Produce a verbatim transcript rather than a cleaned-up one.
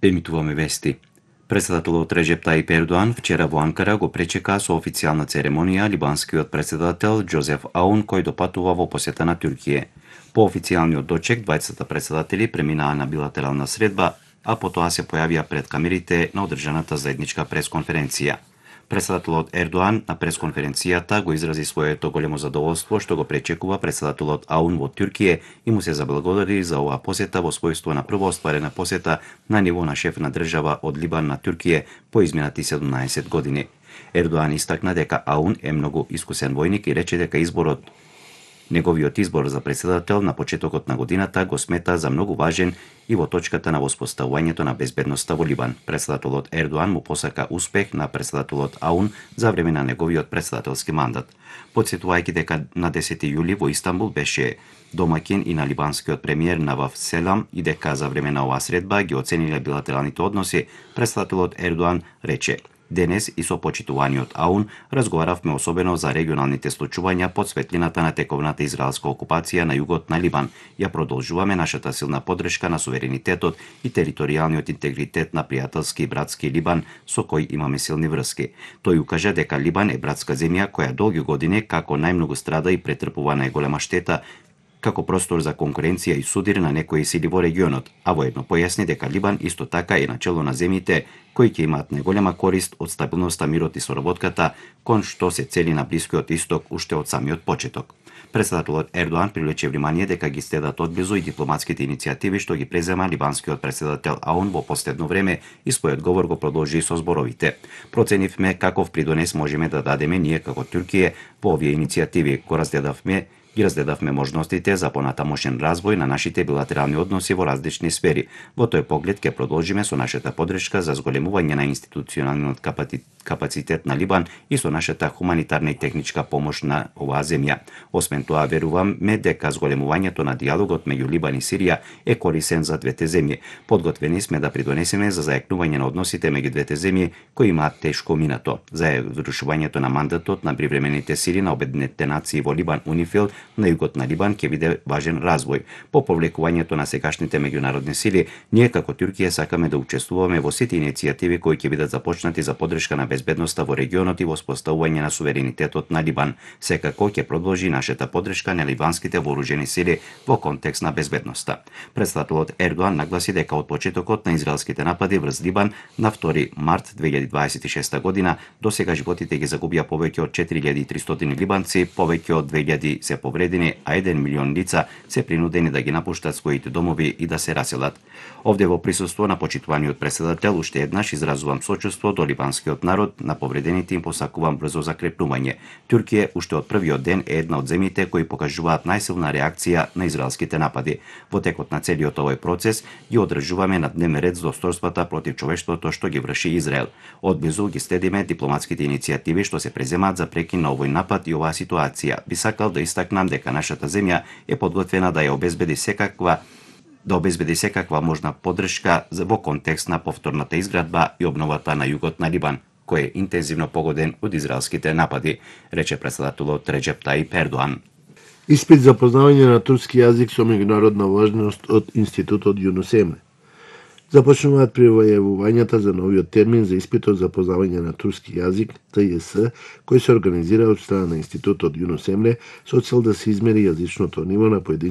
Емитуваме вести. Председателот Реджеп Таип Ердоан вчера во Анкара го пречека со официјална церемонија либанскиот председател Џозеф Аун, кој допатува во посета на Туркија. По официјалниот дочек, двајцата председатели преминаа на билатерална средба, а потоа се појавија пред камерите на одржаната заедничка пресконференција. Председателот Ердоан на пресконференцијата го изрази своето големо задоволство што го пречекува председателот Аун во Туркија и му се заблагодари за оваа посета во својство на прва остварена посета на ниво на шеф на држава од Либан на Туркија по изминати седумнаесет години. Ердоан истакна дека Аун е многу искусен војник и рече дека изборот Неговиот избор за председател на почетокот на годината го смета за многу важен и во точката на воспоставувањето на безбедноста во Либан. Председателот Ердоан му посака успех на председателот Аун за време на неговиот председателски мандат. Потсетувајќи дека на десети јули во Истанбул беше домаќин и на либанскиот премиер Наваф Селам и дека за време на оваа средба ги оцениле билатералните односи, председателот Ердоан рече: "Денес и со почитуваниот Аун разговаравме особено за регионалните случувања под светлината на тековната израелска окупација на југот на Либан. Ја продолжуваме нашата силна поддршка на суверенитетот и територијалниот интегритет на пријателски и братски Либан со кој имаме силни врски." Тој укажа дека Либан е братска земја која долги години како најмногу страда и претрпува најголема штета како простор за конкуренција и судир на некои сили во регионот, а воедно појасни дека Либан исто така е начело на земјите кои ќе имаат најголема корист од стабилноста, мирот и соработката, кон што се цели на Блискиот Исток уште од самиот почеток. Председателот Ердоан привлече внимание дека ги следат одблизу и дипломатските иницијативи што ги презема либанскиот председател Аун во последно време и својот говор го продолжи со зборовите: "Проценивме каков придонес можеме да дадеме ние како Туркија во овие иницијативи, го разгледавме Ги разгледавме можностите за понатамошен развој на нашите билатерални односи во различни сфери. Во тој поглед ќе продолжиме со нашата поддршка за зголемување на институционалниот капацитет на Либан и со нашата хуманитарна и техничка помош на оваа земја. Освен тоа, веруваме дека зголемувањето на диалогот меѓу Либан и Сирија е корисен за двете земји. Подготвени сме да придонесеме за зајакнување на односите меѓу двете земји кои имаат тешко минато, за завршувањето на мандатот на привремените сили на Обединетите нации во Либан Унифил на југот на Либан ќе биде важен развој. По повлекувањето на сегашните меѓународни сили, ние како Туркија сакаме да учествуваме во сите иницијативи кои ќе бидат започнати за поддршка на безбедноста во регионот и воспоставување на суверенитетот на Либан. Секако ќе продолжи нашата поддршка на либанските вооружени сили во контекст на безбедноста." Председателот Ердоан нагласи дека од почетокот на израелските напади врз Либан на втори март две илјади дваесет и шеста година до сега животите ги загубија повеќе од четири илјади и тристотини либанци, повеќе од две илјади се повредени, а еден милион лица се принудени да ги напуштат своите домови и да се раселат. Овде во присуство на почитуваниот председател уште еднаш изразувам сочувство до либанскиот народ, на повредените им посакувам брзо закрепнување. Туркија уште од првиот ден е една од земјите кои покажуваат најсилна реакција на израелските напади. Во текот на целиот овој процес ги одржуваме на дневен ред злосторствата против човештвото што ги врши Израел. Одблизу ги следиме дипломатските иницијативи што се преземаат за прекин на овој напад и оваа ситуација. Би сакал да истакнам дека нашата земја е подготвена да ја обезбеди секаква да обезбеди секаква можна поддршка во контекст на повторната изградба и обновата на југот на Либан, кој е интензивно погоден од израелските напади, рече председателот Реджеп Таип Ердоан. Испит за познавање на турски јазик со меѓународна важност од Институтот Јунус Емре. Започнуваат привајавувањата за новиот термин за испитот за познавање на турски јазик, Т Ј С, кој се организира од страна на Институтот Јунус Емре со цел да се измери јазичното ниво на поединците